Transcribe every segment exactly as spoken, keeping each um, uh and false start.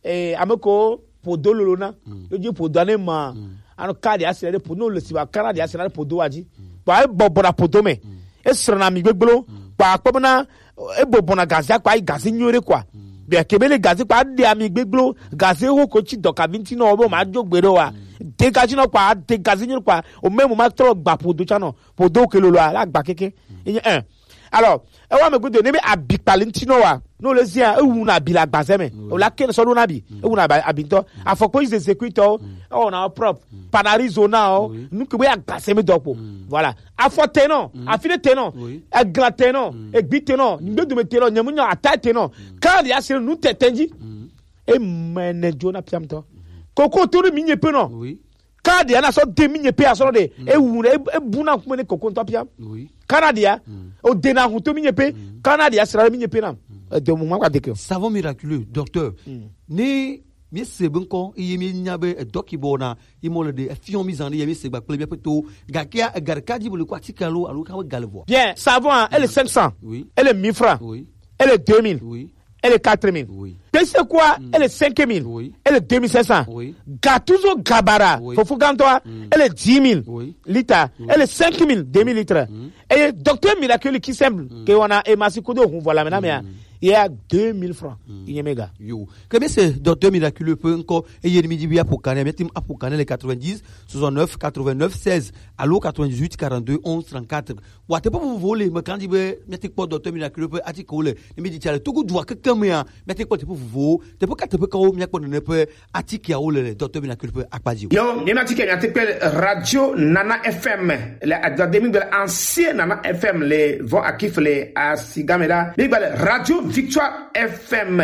eh, ame ko podo lolo na. Yo ji podo ne ma. Ano ka de asira de podo, no le si ba kana de asira de podo wa ji. Ba e bobo na podo me. E srɔna mi gbegblo. Ba kpɔ na e bobo na gazi akpa, gazi nyore kwa. Bia kebe le gazi kpa de ami gbegblo, gazi ho ko ci dɔka vinti no bo ma jo gbe do wa. De gazi no kwa, de gazi nyore kwa. O me mo ma tro gba podo cha no. Podo ke lolo la gba keke. Enye, eh. Alors, e wa me gudo ne bi abi kpali ntino wa. No le zia e wu na bi la gbazeme. O la ken so do na bi. E wu na ba- abi nto. Afɔkpo ize zekuito. O na prop. Panarizo na o. Nu ke we agbazeme dokpo. Voilà. Afɔ teno, afine teno. Egla teno. Egbi teno. Ngbedume teno. Nyemunya ata teno. Kadi asire nu tetenji. E mene jona piam to. Koko to mi nye pe no. Kadi ana so de mi nye pe aso de. E wu e e buna kuma ne koko nto pia. Kanadia. O de na hu to mi nye pe. Kanadia sira mi nye pe na. E de mo ma kwa de ke. Savon miraculeux, docteur. Ni mi se be nko iye mi nya be e doki bo na i mo le de e fion mi zan de ye mi se gba ple mi pe to. Ga kia e gar kadi bo le kwa tikalo alo ka we gale vo. Bien, savon, hein, elle est cinq cents. Oui. Elle est mille francs. Oui. Elle est deux mille. Oui. Elle est quatre mille. Oui. Pese quoi, elle est cinq mille. Oui. Elle est deux mille cinq cents. Oui. Gattuso Gabara, Fofo Gantoa, elle est dix mille. Oui. Lita, elle est cinq mille, deux mille litres. Et docteur Miracle qui semble que on a émassé de hon, voilà, maintenant, mais il y a deux mille francs. Il y a méga. Yo. Ke be se docteur Miracle pe nko e ye mi di bi apokane, mi tim apokane le quatre-vingt-dix, soixante-neuf, quatre-vingt-neuf, seize, alo quatre-vingt-dix-huit, quarante-deux, onze, trente-quatre. Wa te pe vous voler, me kandi be mi ti kpɔ docteur Miracle pe ati ko le. Ne mi di chale to ku dua keke me a, mi ti kpɔ te pe vous vo, te pe ka te pe ka wo mi kpɔ ne pe ati ke o le docteur Miracle pe akpaji. Yo, mi ma ti ke mi ati pe Radio Nana F M, le adade mi be ancien Nana F M le vo akif le asigamela. Mi be Radio Victoire F M.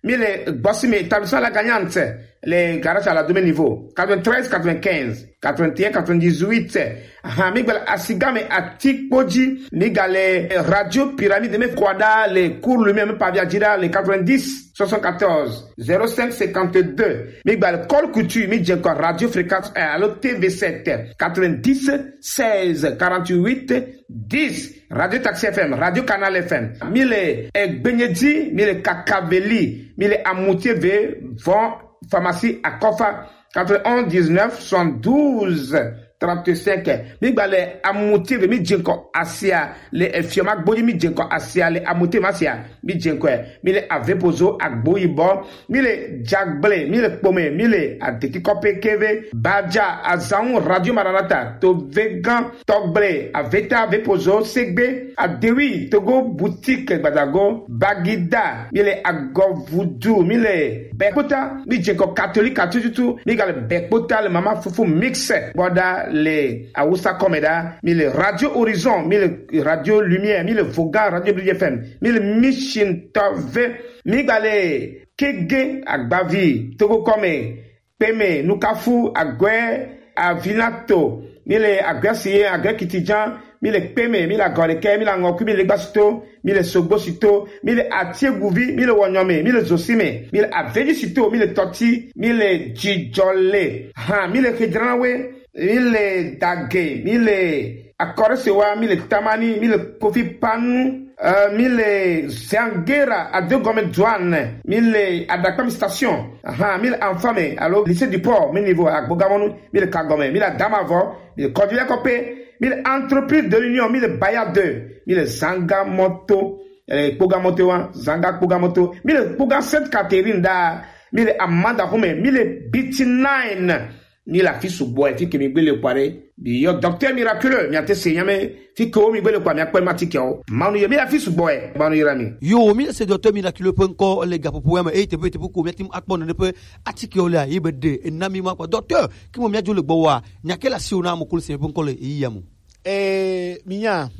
Mi le gbɔsime établissement La Gagnante, le garage à la demi niveau, quatre-vingt-treize, quatre-vingt-quinze, quatre-vingt-un, quatre-vingt-dix-huit. Aha, mi gbele asigame atikpoji, mi gale Radio Pyramide, mi kwada le cours lui-même pa via jira le quatre-vingt-dix, soixante-quatorze, zéro cinq, cinquante-deux. Mi gbele Col Couture, mi djenko Radio Fréquence un, alors T V sept, quatre-vingt-dix, seize, quarante-huit, dix. Radio Taxi F M, Radio Canal F M. Mi le Egbenyedzi, mi le Kakaveli, mi le Amutieve, von pharmacie Akofa, quatre-vingt-onze dix-neuf soixante-douze trente-cinq. Mi gba le Amutieve, mi djenko asia, le Efioma Gbodji, mi djenko asia, le Amutieve asia, mi djenko, mi le Avepozo Agboyibɔ, mi le Jagble, mi le Kpome, mi le Adeti Kɔpe Keve, Badja, Azanwu, Radio Maranatha, Tovegan, Tɔgble, Aveta, Vepozo, Segbe, Adewi, Togo, Boutique, Gbadago, Bagida, mi le Agɔvudu, mi le Bɛkpota, mi djenko Katolika tututu, mi gale Bɛkpota le Mama Fufu Mix, bɔda le Awusa Kɔmɛda, mi le Radio Horizon, mi le Radio Lumière, mi le Voga, Radio Bridge F M, mi le Mission Tɔve, mi gale Kege Agbavi, Togo Kɔme, Kpeme, Nukafu, Aguɛ, Avinato, mi le Aguɛ Siye, Aguɛ Kitijan, mi le Kpeme, mi le Agɔlekɛ, mi le Angɔkui, mi le Gbasito, mi le Sogbosito, mi le Atieguvi, mi le Wɔnyɔme, mi le Zosime, mi le Avedisito, mi le Tɔti, mi le Jijɔle, hã, mi le Kedranawe, mi le Dage, mi le Akɔrɛsewa, mi le Tamani, mi le Kofi Panu, euh, mi le Zangera, Adegɔme Duane, mi le Adakpami Station, aha, mi le Anfame, alo Lycée du Port, mi niveau Agbogamɔnu, mi le Kagɔme, mi le Adamavɔ, mi le Kɔdulɛ Kɔpe, mi le Entreprise de l'Union, mi le Baya deux, mi le Zanga Moto, eh, Kpoga Moto wa, Zanga Kpoga Moto, mi le Kpoga Sainte Catherine da, mi le Amanda Home, mi le B T nine, mi le afi sugbɔ, e fi ke mi gbele kpa ɖe. Bi yɔ Docteur Miraculeux, mi ate se nyame, fi ke wo mi gbele kpa, mi akpɛ ma ti ke o. Manu ye, mi le afi sugbɔ, e, manu ye la mi. Yo, mi le se Docteur Miraculeux pe nkɔ le gaƒoƒo ya me, eye teƒe teƒe ko mi ati akpɔ nene ƒe atikewo lea, ye be ɖe ena mi ma kpa. Docteur, ke mo mi adzo le gbɔ wa, nya ke le asiwò na ame ko le se ƒe ŋkɔ le ɣeyiɣia me. Eh, mi nya.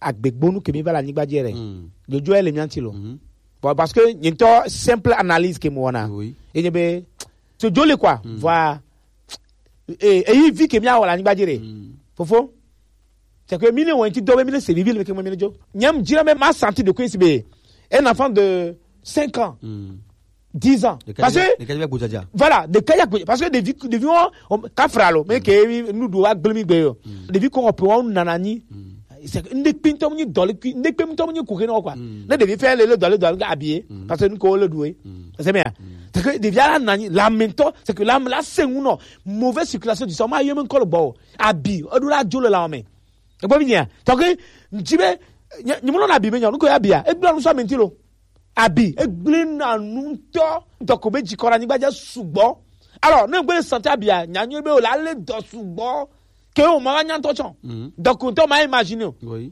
Agbegbonu ke mi va le anyigba dzi ɖe. Dzodzo ele mia ŋuti lo. Bon, parce que nye ŋutɔ simple analyse ke mo wɔna. Oui. Ye nye be, so dzo le quoi. Voilà. Eh, eyi vi ke mi awɔ le anyigba dzi ɖe. Fofo. C'est que mi ne wɔ ŋuti dɔ be mi ne se vivi le ke mo mi ne dzo. Nyam dzira me ma senti de ko si be. Un enfant de cinq ans. Dix ans. Parce que, voilà, de kaya, parce que des vies, des vies, on, on, kafra lo, mais que nous doit glemi gbe yo. Des vies qu'on peut, on nanani. C'est que, nde pinto ni dole, nde pinto ni kuke no kwa. Ne des vies faire le, le dole, dole, habillé. Parce que nous, on le doit. C'est bien. C'est que des viens la nani, la mento, c'est que la, la c'est ou non. Mauvaise circulation du sang, ma yeme encore le bon. Abi, on doit la djolo la ome. Et bon, bien. Donc, njibe, ni mon abi, mais nous, quoi, abia. Et bien, nous sommes mentilo. Abi, et bien, nous, to, donc, on me dit, qu'on a ni badia subo. Alors, nous, on santé abia, ni a ni be, on la le do subo. Que on m'a ni en tochon. Donc, on m'a imaginé. Oui.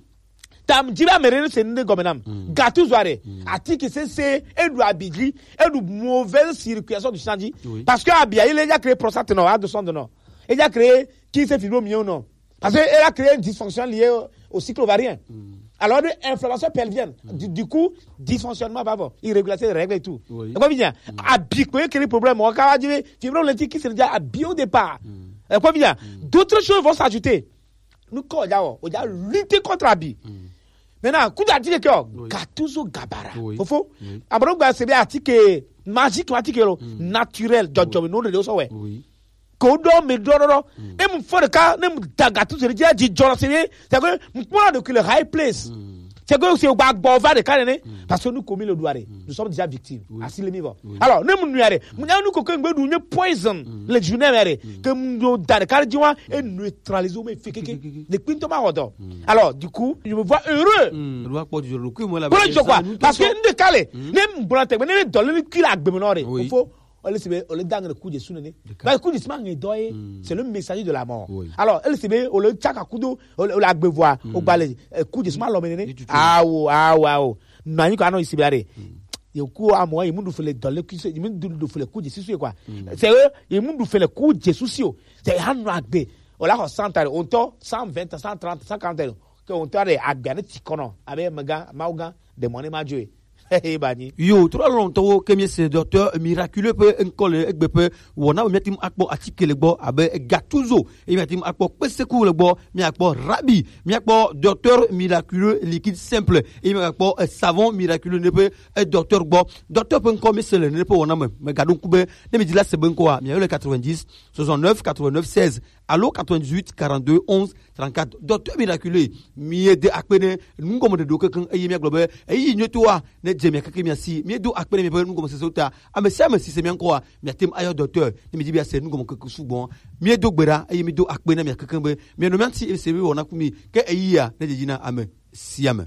Tam jiba mere se ne gome nam. Gatu zware. Ati ki se se edu abidji, edu mauvaise circulation du changi. Oui. Parce que abia, il a déjà créé prostate non, a de son de non. Il a déjà créé qui se fibromyome non. Parce qu'elle a créé une dysfonction liée au, au cycle ovarien. Alors, de inflammation pelvienne. Du, du coup, dysfonctionnement va avoir. Irrégularité des règles et tout. Oui. Et quoi vient? Abi, quoi, quel problème? On va dire, fibrome lentique qui se déjà abi au départ. Et quoi vient? D'autres choses vont s'ajouter. Nous, quand on a, on a lutté contre abi. Maintenant, coup d'artillerie, que Oui. Gattuso Gabara. Oui. Fofo. Oui. Abraham Gabara, c'est bien article magique, article naturel. John John, non, non, non, ouais. Oui. Kodo me do do do. Et mon frère ka, ne mon daga tout c'est déjà dit John c'est bien. C'est que mon point de que le high place. C'est que c'est au bas bas va de carne. Parce que nous commis le doigt. Nous sommes déjà victimes. Asile mi va. Alors ne mon nuare. Mon a nous coquin be nous poison. Le journée mere. Que mon da de carne et neutraliser mes fake. De quinto ma hodo. Alors du coup, je me vois heureux. Loi pour du jour. Kui moi la. Pour le jour quoi. Parce que nous décaler. Ne mon blanc, ne dans le cul à gbemonore. Oui. Faut on le sebe, on le dangue le coup de sunene. Ba coup de sima nge doye, c'est le messager de la mort. Oui. Alors, elle sebe, on le tchaka kudo, on le agbevoa, on bale, coup de sima l'homme nene. Ni tutu. Ah oh, ah oh, ah oh. Mani ko ano isebe are. Yo ku amo, il mundu fele dans le coup, il mundu fele coup de susu quoi. C'est eux, il mundu fele coup de susu. C'est hanu agbe. On la santa, on to cent vingt, cent trente, cent quarante. Que on to agbe ne tikono, avec maga, mauga, de money ma joe. Hey bani. Yo, trop longtemps que mi c'est docteur miraculeux pe encore le egbe pe wona mi tim akpo article le gbo abe Gattuso et mi tim akpo peseku le gbo mi akpo rabi mi akpo docteur miraculeux liquide simple et mi akpo euh, savon miraculeux ne pe euh, docteur gbo docteur pe encore mi c'est le ne pe wona me me gadon kube ne mi dit là c'est bon quoi mi le quatre-vingt-dix soixante-neuf quatre-vingt-neuf seize allo quatre-vingt-dix-huit quarante-deux onze trente-quatre. Docteur miraculeux, mi ye de akpene nungo mo de do kankan eye mi aglobe eye nyoto wa ne je mi kankan mi asi mi do akpene mi pe nungo mo se sota ame si ame si se mi anko wa mi atem ayo docteur ne mi di bi ase nungo mo kankan sugbon mi do gbera eye mi do akpene mi kankan be mi no mi anti e se mi wona kumi ke eye ya ne je jina ame si ame.